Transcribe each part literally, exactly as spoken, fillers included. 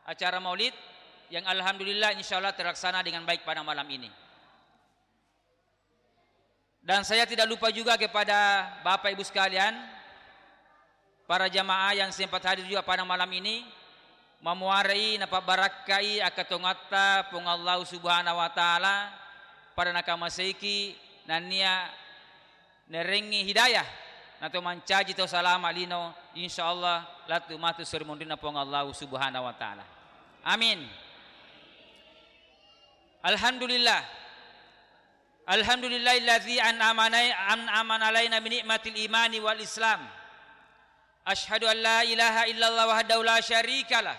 acara maulid yang alhamdulillah insyaallah terlaksana dengan baik pada malam ini. Dan saya tidak lupa juga kepada Bapak Ibu sekalian, para jamaah yang sempat hadir juga pada malam ini, mamuarai napabbarakkai akkatongatta Puang Allah Subhanahu wa Ta'ala pada nakamaseiki, nennia nerengngi hidayah nato mancaji tau salama lino, insyaallah lettu matu seri monrinna Puang Allah Subhanahu wa Ta'ala. Amin. Alhamdulillah. Alhamdulillahilladzi an'amana, an'ama alaina bi ni'matil imani wal islam. Asyhadu an la ilaha illallah wahdahu la syarikalah.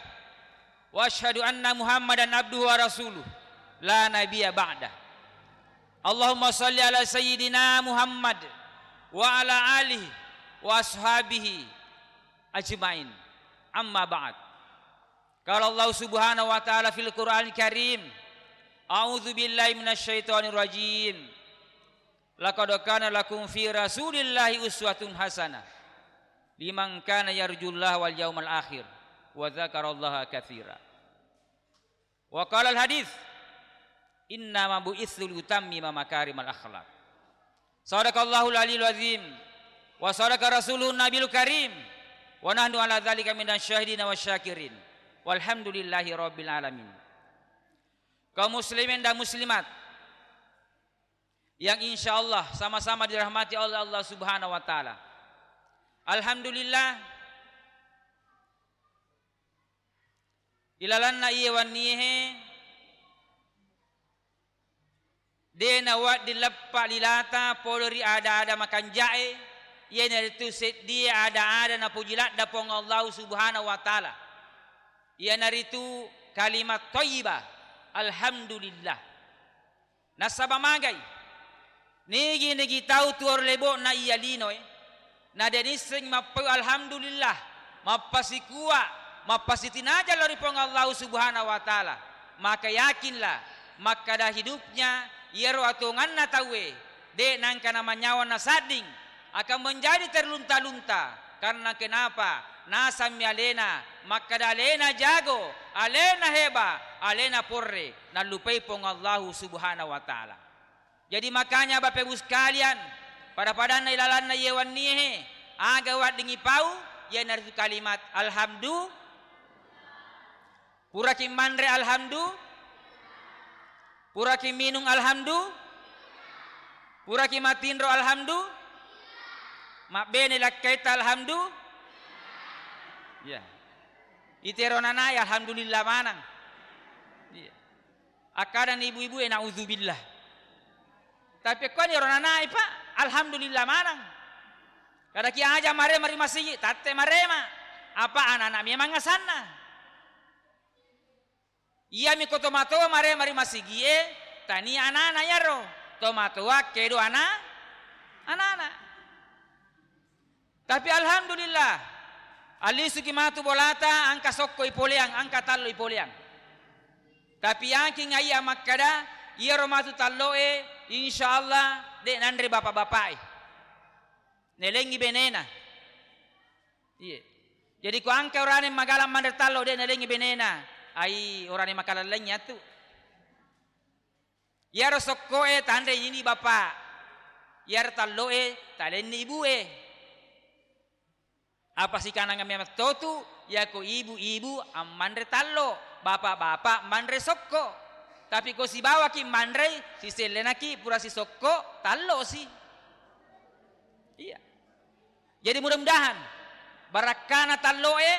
Wa asyhadu anna Muhammadan abduhu wa rasuluh. La nabiyya ba'dah. Allahumma shalli ala sayyidina Muhammad wa ala alihi wa ashabihi ajmain. Amma ba'd. Qala Allah Subhanahu wa Ta'ala fil Qur'anil Karim, a'udzu billahi minasy syaithanir rajim. Laqad kana lakum fi Rasulillahi uswatun hasanah liman kana yarjullaha wal yaumal akhir wa dzakarallaha katsira. Wa qala al hadits, innama bu'itsu liutammima makarimal akhlak. Sadaqallahul aliyul azim wa sadaqa rasuluhun nabiyul karim wa nahnu ala dzalika minasy syahidina wasy syakirin. Walhamdulillahi rabbil alamin. Kaum muslimin dan muslimat yang insyaallah sama-sama dirahmati oleh Allah Subhanahu wa Ta'ala. Alhamdulillah, ilalanna iye wennie he, de' nawedding leppa lilata pole ri ada-ada makanja'e, iyanaritu seddie ada-ada napoji ladda Puang Allah Subhanahu wa Ta'ala, iyanaritu kalimat thayyibah, alhamdulillah. Nasaba magai? Nigi-nigi tau tuo ri lebo'na iya linoe, na de' nisseng mappau alhamdulillah, mappasikua, mappasitinaja lao ri Puang Allah Subhanahu wa Ta'ala, maka yakinlah makkada hidupnya iyaro atonganna tauwe de' nangka namanyawa nasadding, akan menjadi terlunta-lunta. Karena kenapa? Nasammi alena makkada alena jago, alena heba, alena porre, nallupai Puang Allahu Subhanahu wa Ta'ala. Jadi makanya Bapak Ibu sekalian, pada-padanna ilalanna iye wennie he, aga wedding ipau, iyanaritu kalimat alhamdu-, Puraki manre alhamdu? Puraki minung alhamdu? Puraki matinro alhamdu? Mabbene lakkaita alhamdu? Iya. Itero nanae alhamdulillah manang. Iya. Akkadani ibu-ibu e, naudzubillah. Tapi ko ni ro nanae, Pak, alhamdulillah manang. Kadaki aja marema ri masigi, tatte marema. Apa anak-anak memang asanna. Iyami ko tomatoa marema ri masigie, tania anana iyaro. Tomatoa kedo ana-, anana. Tapi alhamdulillah, alisuki matu bolata, engka sokko ipoleang, engka tallo ipoleang. Tapi yakin aiya makkada, iyaro matu talloe, insyaallah, de' nanre bapak-bapak e. Nelengi benena. Iye. Jadi ko engka orane magalang manre tallo de' nalengi benena, ai orane makalallengi atu. Iyaro sokkoe tanre ini bapak, iyaro talloe talenni ibue. Apa sikananga memang totu, yako ibu-ibu ammanre tallo, bapak-bapak manre sokko. Tapi ko sibawaki manrei, sisellenaki pura sisokko, tallosi. Iya. Jadi mudah-mudahan barakkana talloe,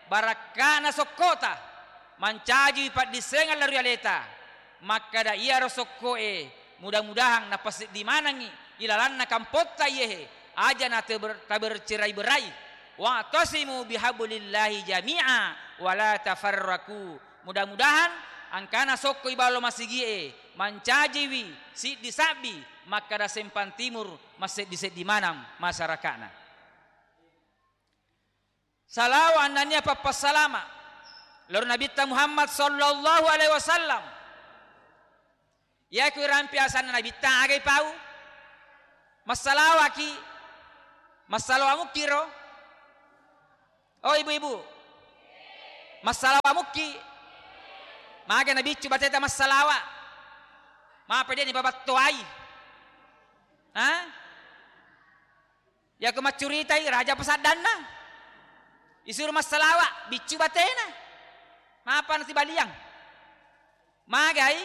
barakkana sokkota, mancaji paddissengeng lao ri aleta. Makkada iyaro sokkoe, mudah-mudahan napaseddi manengngi ilalanna kampotta iyehe, aja na taber-, tabercerai-berai. Wa'tasimu bihablillahi jami'a wa la tafarraqu. Mudah-mudahan engkana sokko iballo masigie mancajiwi siddi sabbi makkada Sempang Timur masseddi-seddi maneng masyarakatna. Salawa annania pappassalama lao ri Nabitta Muhammad sallallahu alaihi wasallam. Iyaku irampe asanna Nabitta, aga ipau? Massalawaki? Massalawa mukkiro? Oh, ibu-ibu. Massalawa mukki. Mage nabiccu bateta massalawa. Mape de' nipabattoai. Ha? Yako maccuritai raja pasaddanna. Isuru massalawa, biccu batena. Mapa nasibaliang. Magai,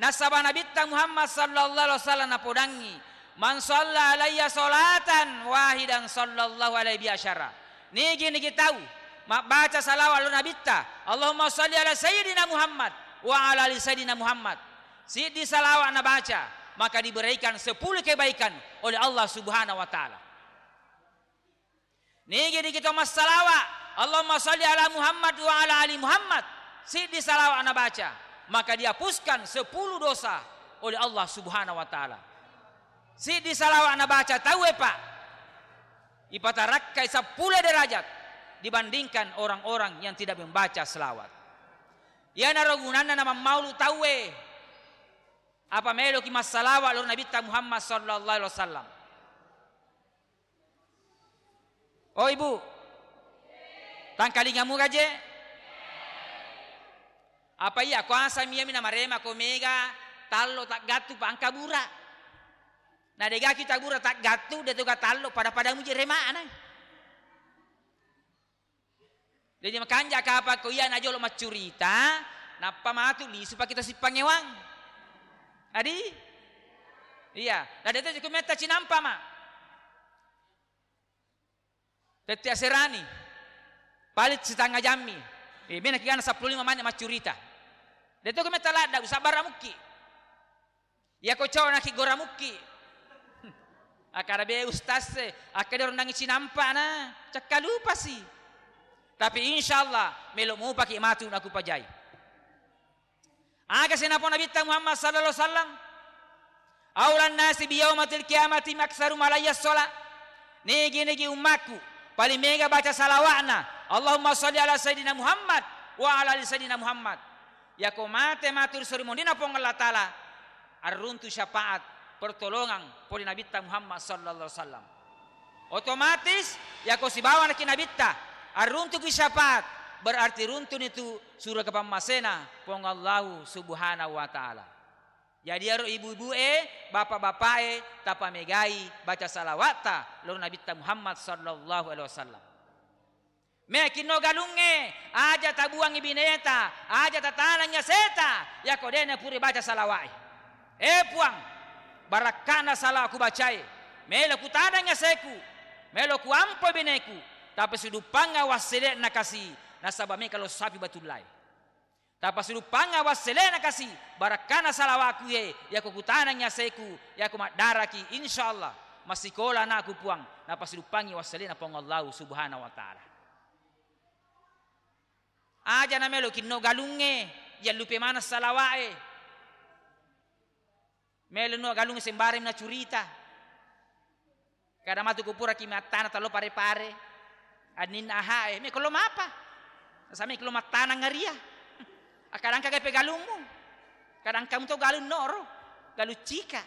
nasaba Nabitta Muhammad sallallahu alaihi wasallam napodangngi, "Man shalla alayya salatan wahidan sallallahu alaihi biasyara." Nigi-nigi tau mabbaca salawat lo Nabitta, "Allahumma shalli ala Sayyidina Muhammad wa ala ali Sayyidina Muhammad." Siddi salawat nabaca, maka diberikan sepuluh kebaikan oleh Allah Subhanahu wa Ta'ala. Nigi-nigi to massalawa, "Allahumma shalli ala Muhammad wa ala ali Muhammad." Siddi salawat nabaca, maka dihapuskan sepuluh dosa oleh Allah Subhanahu wa Ta'ala. Siddi salawat nabaca tauwe, Pak, ipatarakkai sepuluh derajat dibandingkan orang-orang yang tidak membaca selawat. Iyanaro gunanna namammaulu tauwe. Apa meloki massalawa lo Nabitta Muhammad sallallahu alaihi wasallam. Oh, Ibu, tangkalingamu gaje? Apa iya kuasa miyami namarema ko mega tallo taggattu pa angka bura. Na degaki tabura taggattu, de toga tallo pada-pada muji remana. Jadi makanja kapang ko iya najolo maccurita, nappa matu lisu paki to sippangewang. Adi? Iya, na de to ko metta cinampa ma. Tette aserani. Paling setengah jammi. Eh, mena kigana seppulo lima menit maccurita. De to ko metta ladda, usabbara mukki. Iyako cowok naki gora mukki. Akkada be ustaz e, akkada rondangi cinampa na, cakka lupasi. Tapi insyaallah melo mupaki matu naku pajai. Aga senapa Nabitta Muhammad sallallahu alaihi wasallam? Aulan nasi biyaumatil qiyamati aktsaruhum alayya sholat. Nigi-nigi ummakku paling mega baca salawatna, Allahumma shalli ala Sayyidina Muhammad wa ala ali Sayyidina Muhammad. Yako mate matu ri sori mondina Puang Allah Ta'ala, arruntu syafaat, pertolongan pole Nabitta Muhammad sallallahu alaihi wasallam. Otomatis yako sibawa naki Nabitta arruntuki syafaat, berarti runtuni tu surga pammasena Puang Allahu Subhanahu wa Ta'ala. Jadi aro ibu-ibu e, bapak-bapak e, tapamegai baca salawatta lo Nabitta Muhammad sallallahu alaihi wasallam. Mekinno galungnge, aja tabuangngi bineta, aja tatanangngi aseta, yako de napuri baca salawa'e. Eh Puang, barakkana salawa kubacae, melo kutanangngi aseku, melo kuampo bineku, tapi suduppangnga wassele'na kasi, nasaba meka lo sapi batullae. Tapasuduppangnga wassele'na kasi, barakkana salawaku ye, yako kutanangngi aseku, yako maddaraki, insyaallah massikola anakku Puang, napasuduppangngi wassele'na Puang Allahu Subhanahu wa Ta'ala. Aja namelo kinno galungnge, yallupe maneng salawa'e. Melo nuwa galung sembarang nacurita. Kada matu kupuraki mattana tallo pare-pare. Anninna ahae, meko lo mapa? Nasa meko lo mattanang ngaria. Akkada engka gape galummu. Kada engka muto galung noro. Galung cika.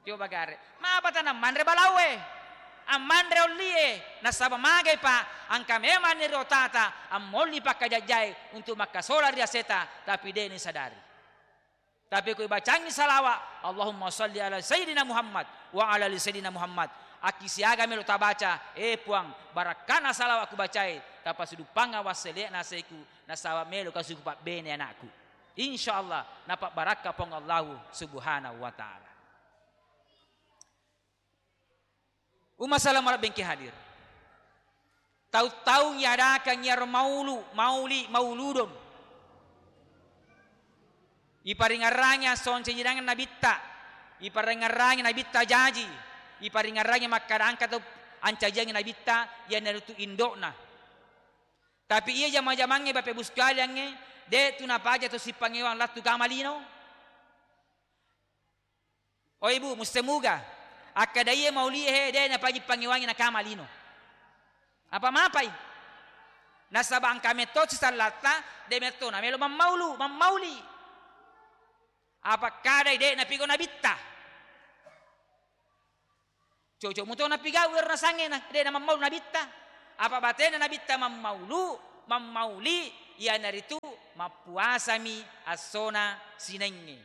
Coba gare. Mapa tana manre balaue? Ammanre ollie. Nasaba magai pa engka memang ni rotata ammolli pakkajajjae untuk makkasola ri aseta, tapi de ni sadari. Tapi ko ibacangngi salawa, Allahumma shalli ala Sayyidina Muhammad wa ala ali Sayyidina Muhammad. Akki siaga melo tabaca, eh Puang, barakkana salawa kubacai, tapasuduppangnga wassele'na aseku, nasaba melo kasuku pabbene anakku. Insyaallah, napabbarakka Puang Allahu Subhanahu wa Ta'ala. Umma salama rabbengki hadir. Taung-taung iadakang iyaro maulu, mauli, mauludun. Iparingerrangi assoncajirangan nabitta, iparingerrangi nabitta jaji, iparingerrangi makkada engka tau ancajiangngi nabitta, iyanaritu indo'na. Tapi iya jama-jamangnge, Bapak Ibu sekaliangnge, de' tu napaja to sippangewang lattu kama lino. Oh Ibu, musse muga. Akkada iye maulie he, de' napaji pangewangi nakama lino. Apa mapai? Nasaba engka metto sisallatta, de' metto namelo mammaulu, mammauli. Apa kadai de' napigau nabitta? Cocok muto napigau ero nasangnge na, de' namammaulu nabitta. Apa batena nabitta mammaulu, mammauli, Iyanaritu mappuasami essona Sinengnge.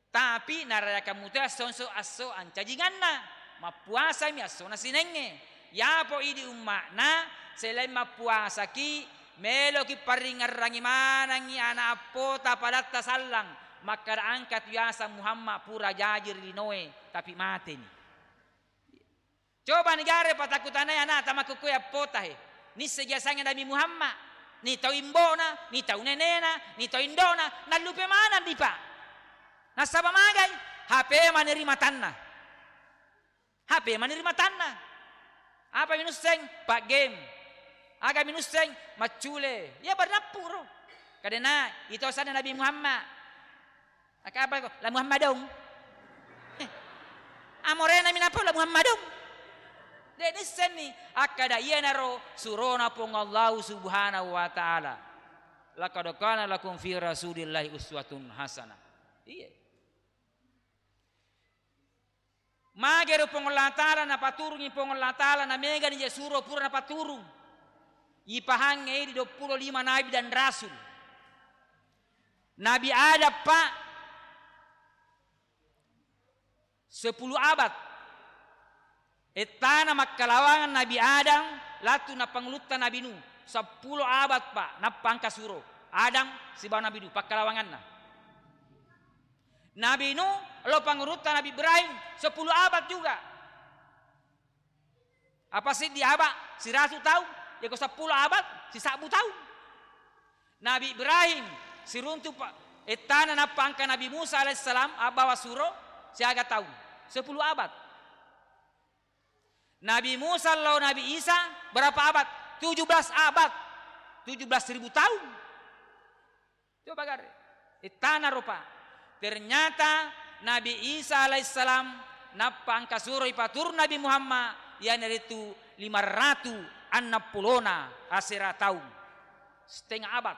Tapi narayakang muto esso, esso, esso ancajinganna, mappuasami essona Sinengnge. Yapo idi umma'na, selain mappuasaki, meloki paringngerangi manengngi ana appota padatta sallang, makkada engka tu yaseng Muhammad pura jaji ri linoe, tapi mateni. Coba ni gare patakutanai anata makkukue appota he. Nisseng yasengnge Nabi Muhammad, ni tau imbona, ni tau nenena, ni tau indona, nallupe maneng dipa. Nasaba magai? H P mani ri matanna. H P mani ri matanna. Apa minusseng? Pak game. Aga minusseng? Maccule. Ya bernappu ro. Kadena ito sana Nabi Muhammad. Maka apa ko? La Muhammadong. Eh, amorena minapau la Muhammadong. De nissenni akkada iyanaro surona Puang Allahu Subhanahu wa Ta'ala. Laqad kana lakum fi Rasulillahi uswatun hasanah. Iya. Magero Puang Allah Ta'ala napaturungi Puang Allah Ta'ala, namegani je suro pura napaturung. Ipahangnge di duappulo lima nabi dan rasul. Nabi Adam, Pak, sepuluh abad. Ettana makkalawangan Nabi Adam, latu napangulutta Nabi Nuh. Seppulo abad, Pak, nappa engka suro. Adam sibawa Nabi Nuh, pakkalawanganna. Nabi Nuh, lo pangurutta Nabi Ibrahim, sepuluh abad juga. Apa siddi abad? Siratu taung. Yako seppulo abad, sisabbu taung. Nabi Ibrahim, siruntu pa-, ettana nappa engka Nabi Musa alaihissalam, abbawa suro, siaga taung? Sepuluh abad. Nabi Musa lao Nabi Isa, berapa abad? Tujuh belas abad. Tujuh belas ribu taung. Coba gare. Ittana rupa. Ternyata Nabi Isa alaihissalam nappa engka suroi paturung Nabi Muhammad, iyanaritu lima ratu annang pulona asera taung. Setengah abad.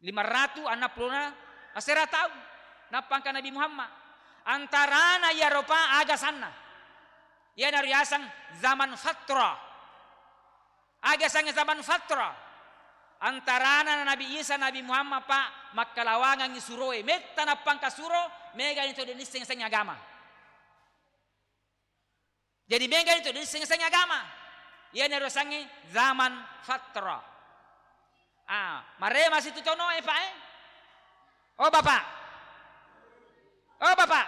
Lima ratu annang pulona asera taung. Nappa engka Nabi Muhammad. Antarana iya rupa aga sanna. Iyanaro yaseng zaman fatra. Aga sangnge zaman fatra? Antarana Nabi Isa, Nabi Muhammad, Pak, makkalawangangngi suroe. Metta nappa engka suro, megani to de nisseng-seng agama. Jadi megani to de nisseng-seng agama. Iyanaro sangnge zaman fatra. Ah, marema situ tonoe, Pak, eh? Oh, Bapak. Oh, Bapak.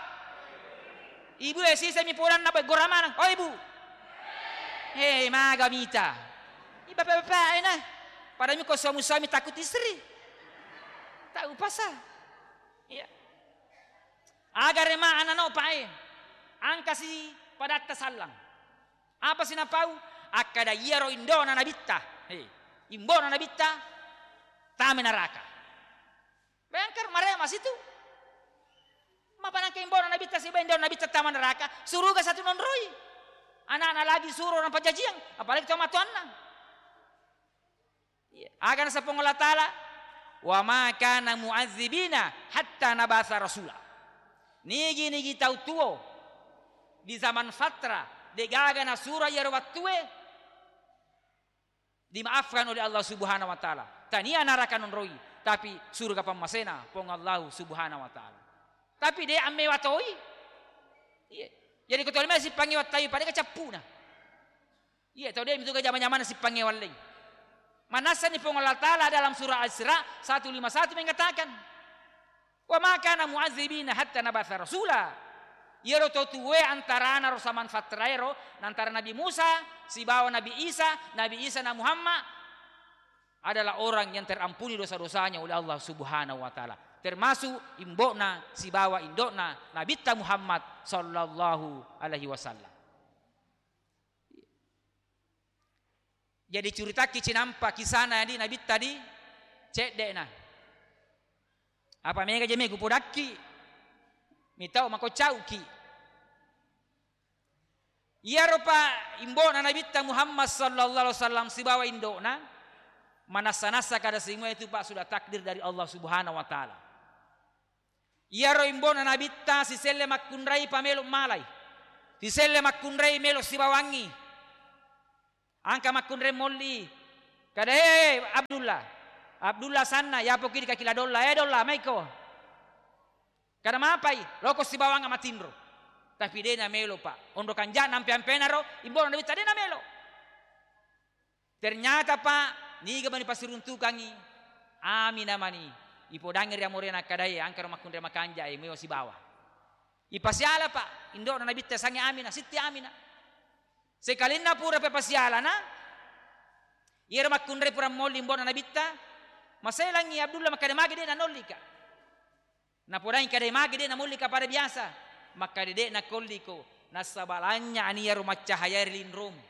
Ibu e sisemi podanna, Pak, gora maneng. Oh, Ibu. Hei, maga mita. I bapak-bapak e na. Padahal mi ko suami-suami takut istri. Tahu pasal. Iya. Aga rema ana no, Pak, e. Angkasi padatta sallang. Apa sinapau? Akkada iyaro indona nabitta. Hei, imbona nabitta tame naraka. Bayangkan, marema situ. Mapanangka imbona nabitta sibawa indona nabitta tama neraka, suruga satu nonroi. Anakna lagi suro napajajiang, apalagi tau matoanna. Iya. Aga naseng Puang Allah Ta'ala, "Wa ma kana mu'azzibina hatta nabasa rasula." Nigi-nigi tau tuo di zaman fatra, degaga nasuro iyaro wattue, dimaafkan oleh Allah Subhanahu wa Ta'ala. Tania naraka nonroi, tapi surga pammasena Puang Allah Subhanahu wa Ta'ala. Tapi de ammewa toi. Iya. Jadi ko tolima sippangngewa tawi pada kecappuna. Iya, tau de mitu jama-jamana sippangngewa leng. Manassani Puang Allah Ta'ala dalam surah Al-Isra satu lima satu mengatakan, "Wa ma kana mu'azzibina hatta nabasa rasula." Iyaro to tuwe antarana ro zaman fatraero, antara Nabi Musa sibawa Nabi Isa, Nabi Isa na Muhammad adalah orang yang terampuni dosa-dosanya oleh Allah Subhanahu wa Ta'ala. Termasuk imbokna sibawa indokna Nabitta Muhammad sallallahu alaihi wasallam. Jadi curitakki cinampa kisana di Nabitta di cedde'na. Apa mega jeme kupodakki, mitau mako cauki. Iyaro pa imbona Nabitta Muhammad sallallahu alaihi wasallam sibawa indokna, manassa-nassa kada simua itu, Pak, sudah takdir dari Allah Subhanahu wa Ta'ala. Iyaro imbona Nabitta siselle makkunrai pa melo malai. Siselle makkunrai melo sibawangi. Angka makkunrai molli. Kada, "Eh, Abdullah, Abdullah sanna, yapo ki di kaki la Dolla, eh, Dolla, maiko." Kada mapai, loko sibawang matinro. Tapi de' namelo, Pak. Onro kanja'na ampe-ampenaro, imbo'na Nabitta de' namelo. Ternyata, Pak, niga mani pasiruntukangngi, Aminah mani ipodangngi ri amorena, akkadae, "Engkaro makkunrai makanja e, muewa sibawa." Ipasiala, Pak, indo'na Nabitta sange Aminah, Sitti Aminah. Sekalinna pura pepasialana, iyaro makkunrai pura molli imbo'na Nabitta, maselangngi Abdullah makkeda, "Magi de' nanollika?" Napodangi kada magi de' namollika pada biasa. Makkeda, "De' nakolliko, nasaba lanynya'ni iyaro maccahaya ri linromu."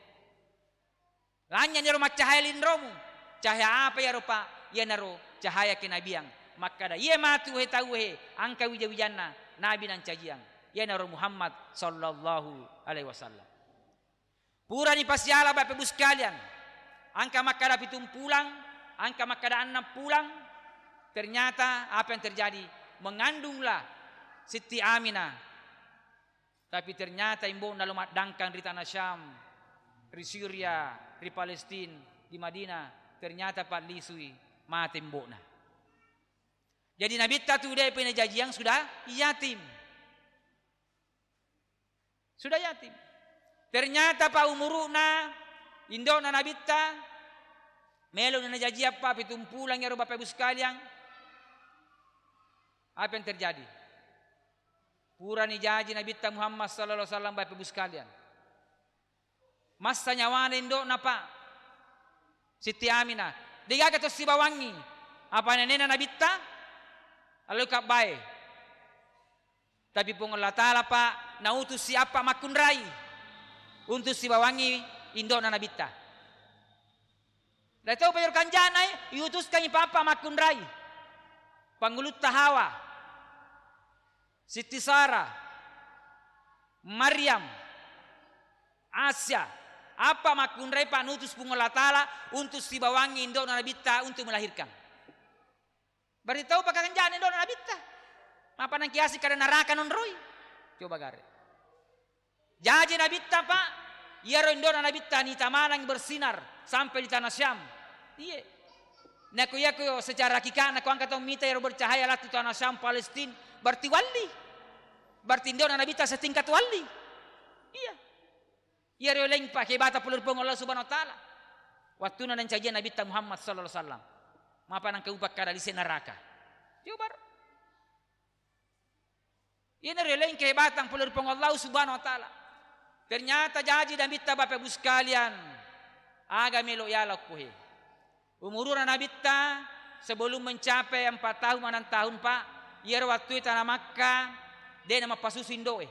Lanynya'ni iyaro maccahaya linromu. Cahaya apa iyaro, Pak? Iyanaro cahaya kenabian. Makkeda, "Iye matu, he tauwe he, engka wija-wijanna nabi nancajiang. Iyanaro Muhammad sallallahu alaihi wasallam." Purani pasiala, Bapak Ibu sekalian. Engka makkeda pitung pulang, engka makkeda enneng pulang. Ternyata apa yang terjadi? Mengandunglah Siti Aminah. Tapi ternyata imbo'na lo maddangkang ri tanah Syam, ri Syria, ri Palestina, di Madinah. Ternyata pallisui, mate imbo'na. Jadi Nabitta tu de'pa najajiang sudah yatim. Sudah yatim. Ternyata, Pak, umuru'na indo'na Nabitta melo najajiang, Pak, pitung pulang iyaro, Bapak Ibu sekalian. Apa yang terjadi? Purani jaji Nabitta Muhammad sallallahu alaihi wasallam, Bapak Ibu sekalian. Massa nyawana indo'na, Pak. Siti Aminah. De'gaga to sibawangngi. Apa nenena Nabitta? Allo kabbae. Tapi Puang Allah Ta'ala, Pak, nautusi apa makkunrai untuk sibawangngi indo'na Nabitta. Dai tau pajaro kanjana, eh, iutuskangngi papa makkunrai. Pangulutta Hawa, Sitti Sara, Maryam, Asya, apa makkunrai, Pak, nutus Puang Allah Ta'ala untuk sibawangngi indo'na Nabitta untuk melahirkan. Berarti tau pakakanjana indo'na Nabitta. Mapa nangkiasi kada naraka nonroi. Coba gare. Jaji Nabitta, Pak, iyaro indo'na Nabitta nita maneng bersinar sampai di tanah Syam. Iye. Nako iyako secara hakikatna ko engka tau mita iyaro bercahaya lattu tanah Syam, Palestina, berarti walli. Berarti indo'na Nabitta setingkat walli. Iya. Iyaro leng pake bata pole ri Puang Allah Subhanahu wa Ta'ala. Wattuna nancajiang Nabitta Muhammad sallallahu alaihi wasallam. Mapa nangka upakkada lise naraka. Coba. Iyanaro leng kehebatang pole ri Puang Allah Subhanahu wa Ta'ala. Ternyata jaji Nabitta, Bapak Ibu sekalian, aga melo yala okko he. Umuruna Nabitta sebelum mencapai empat tahun, enam tahun, Pak, iyaro wattue tana Makkah, de' namappasusu indo'e.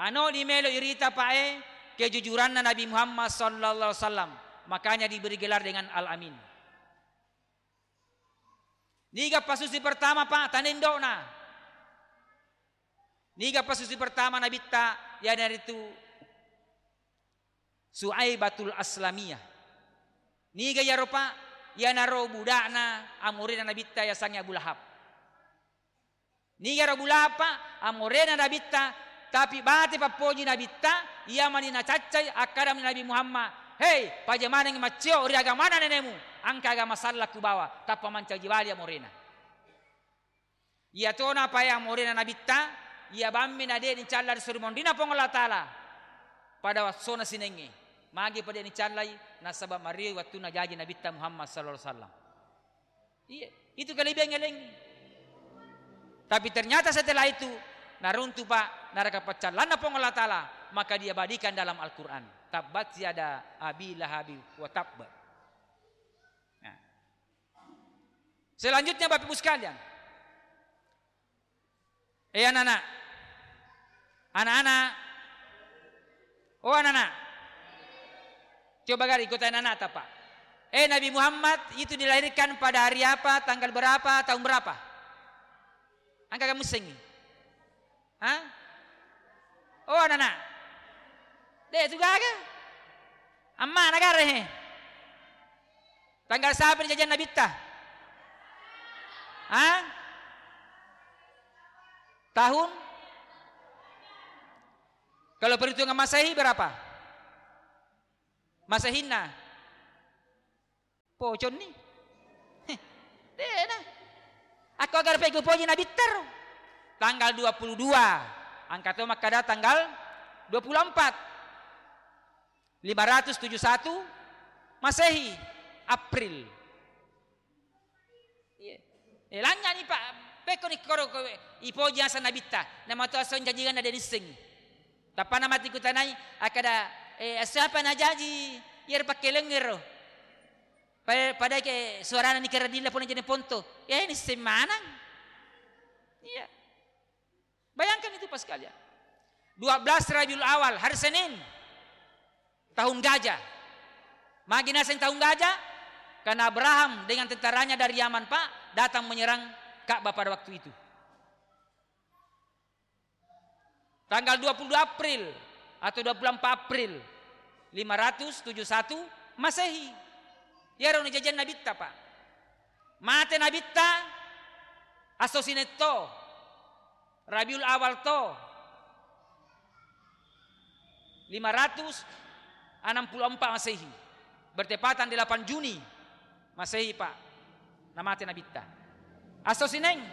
Anoni melo irita, Pak, e, kejujuranna Nabi Muhammad sallallahu alaihi wasallam. Makanya diberi gelar dengan Al-Amin. Niga pasusi pertama, Pak? Tana indo'na. Niga pasusi pertama Nabitta? Iyanaritu Suaibatul Aslamiyah. Niga iyaro, Pak? Iyanaro buda'na amorena Nabitta yasengnge Abu Lahab. Nigaro bulapa amorena Nabitta, tapi bate pappoji Nabitta, iya mani nacaccai, akkadami Nabi Muhammad, "Hei, paja maneng maccio ri agamana nenemu, engka agama salla kubawa, tappa mancaji bali amorena." Iyatona pae amorena Nabitta, iya bammi na de' nicalla ri suri monrina Puang Allah Ta'ala pada wassona sinengnge. Magi pa de' nicallai, nasaba mario wettunna jaji Nabitta Muhammad sallallahu alaihi wasallam. Iya, itu kelebihan eleng. Tapi ternyata setelah itu, naruntu, Pak, neraka paccallanna Puang Allah Ta'ala, maka diabadikan dalam Al-Quran. Tabbat yada Abi Lahabi wa tabb. Nah. Selanjutnya, Bapak Ibu sekalian, eh, anak-anak. Anak-anak. Oh, anak-anak. Coba gari ikutan anak-anak, Pak. Eh, Nabi Muhammad itu dilahirkan pada hari apa, tanggal berapa, tahun berapa? Engka kamussengngi? Hah? Oh, anak-anak. De' tu gaga. Amma negara he. Tanggal siapa ni jajiang Nabitta? Hah? Tahun? Kalau perhitungan Masehi berapa? Masehinna? Poconni. Heh, dena. Akko aga peggu poji Nabitta ro. Tanggal dua puluh dua, engka to makkeda tanggal dua puluh empat, lima ratus tujuh satu Masehi, April. Iya. Eh, lanyani, Pak, pekko ni koro kowe ipoji asa Nabitta, nama to aso jajianna de nisseng. Tappana mati kutanai, akkeda, eh, siapa najaji iyaro pakkelengngero? Pa-, padai ke suarana ni keradilla pole jadi ponto. Eh, nisseng manang. Iya. Bayangkan itu, Pak, sekalian. Dua belas Rabiul Awal, hari Senin. Tahun gajah. Magi naseng tahun gajah? Karena Abraham dengan tentaranya dari Yaman, Pak, datang menyerang Ka'bah pada waktu itu. Tanggal dua puluh dua April atau dua puluh empat April lima ratus tujuh satu Masehi. Iyaro najajiang Nabitta, Pak. Mate Nabitta, aso Sinetto, Rabiul Awal to, lima ratus enam puluh empat Masehi. Bertepatan delapan Juni Masehi, Pak, namate Nabitta. Aso Sineng,